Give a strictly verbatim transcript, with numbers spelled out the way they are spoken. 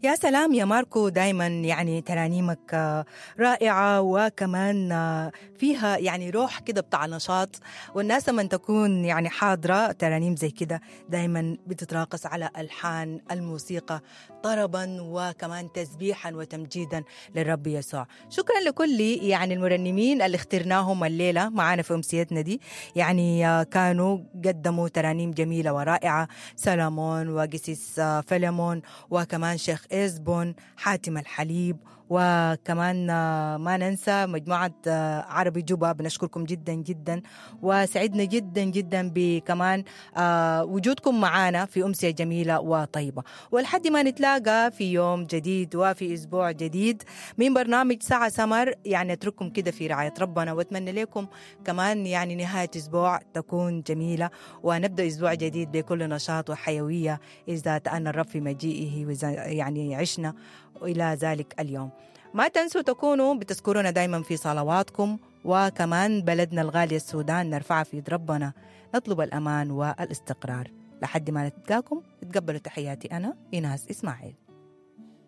يا سلام يا ماركو، دايما يعني ترانيمك آه، رائعة، وكمان آه، فيها يعني روح كده بتاع نشاط، والناس لما تكون يعني حاضرة ترانيم زي كده دايما بتتراقص على ألحان الموسيقى طربا وكمان تسبيحا وتمجيدا للرب يسوع. شكرا لكل يعني المرنمين اللي اخترناهم الليلة معانا في أمسيتنا دي، يعني آه، كانوا قدموا ترانيم جميلة ورائعة، سلامون وقسيس آه، فيلمون، وكمان شيخ إزبون، حاتم الحليب، وكمان آه، ما ننسى مجموعة آه، عربي جوبا. بنشكركم جدا جدا، وسعدنا جدا جدا بكمان آه، وجودكم معانا في أمسية جميلة وطيبة. ولحد ما نتلاقى في يوم جديد وفي أسبوع جديد من برنامج ساعة سمر، يعني أترككم كده في رعاية ربنا، وأتمنى لكم كمان يعني نهاية أسبوع تكون جميلة، ونبدأ أسبوع جديد بكل نشاط وحيوية إذا تأنى الرب في مجيئه، وإذا يعني عشنا إلى ذلك اليوم. ما تنسوا تكونوا بتذكرونا دايما في صلواتكم، وكمان بلدنا الغالية السودان نرفعها في يد ربنا، نطلب الأمان والاستقرار. لحد ما نتلاقاكم تقبلوا تحياتي أنا إيناس إسماعيل.